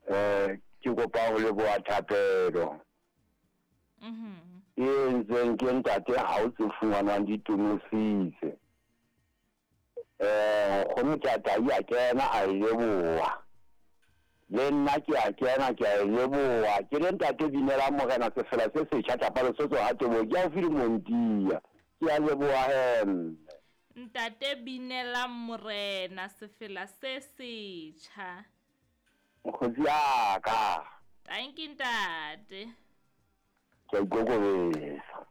Eh ke kopa ho leboha thapelo. Mhm. E entsweng ke ntate ha o tse fumanwang di tonositse. Eh nkgono Tatai a kena a e leboha. Le nna ke a kena ke a e leboha. Ke le ntate Binela Morena sefela se setjha tlapa Lesotho ha Teboho ke haufi le Montia. Ke a leboha he mme. Ntate Binela Morena sefela se setjha. Mokgotsi ya ka. Tanki ntate. Ke a ikokobetsa.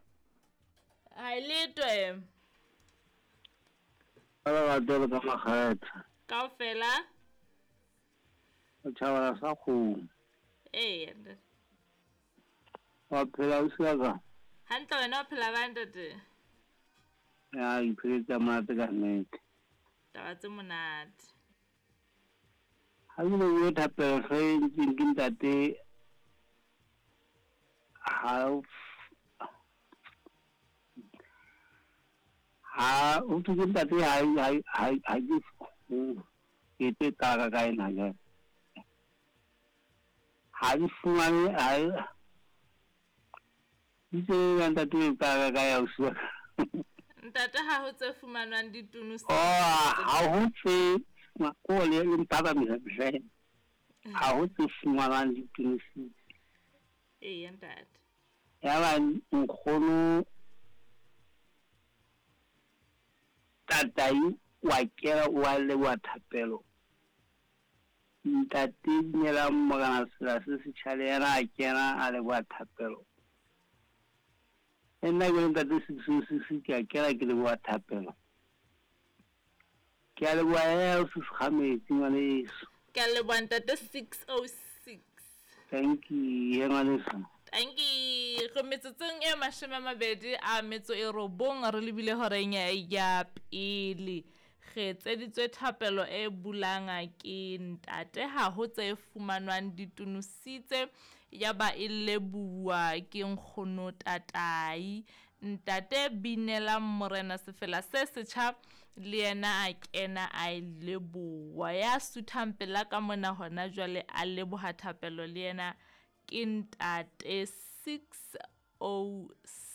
Ha e letwe. Ka lerato le ka makgetha. Kaofela. O tjhabela sa kgomo. Ee ntate. Wa phela ausi wa ka? Hantle wena o phela bang ntate? Ya ke pheletse ha monate ka nnete. Taba tse monate. Ha ke lebohe thapelo hle e entsweng ke ntate ha ha ho thwe ke ntate ha ha ha ha ke ke tlo e qala ka ena jwale. Ha ke fumane ha Itse ya ntate o qala ka ya ausi wa ka. Ntate ha ho tse fumanwang di Oh, ha ho tse ko le le mphakamisa hle. Ha ho tse fumanwang di tunositse. Eya ntate. Ya ba nkgono Tatai wa kena wa leboha thapelo. Ntate Dumelang Morena Sela se setjha le yena a kena a leboha thapelo. Le nna ke le ntate 606 ke a kena ke leboha thapelo. Ke a leboha eo se sekgametsi ngwaneso. Ke a leboha ntate 606. Thank you ngwaneso. Tanki go metsotsong e mashome a mabedi a metso e robong re lebile horeng ya pele. Re etseditswe thapelo e bulang ke ntate ha ho tse fumanwang di tonositse ya ba e lebohuwa ke nkgono Tatai. Ntate Binelang Morena sefela se setjha le yena a kena a e leboha. Ya suthang pela ka mona hona jwale a leboha thapelo le yena ke ntate 606.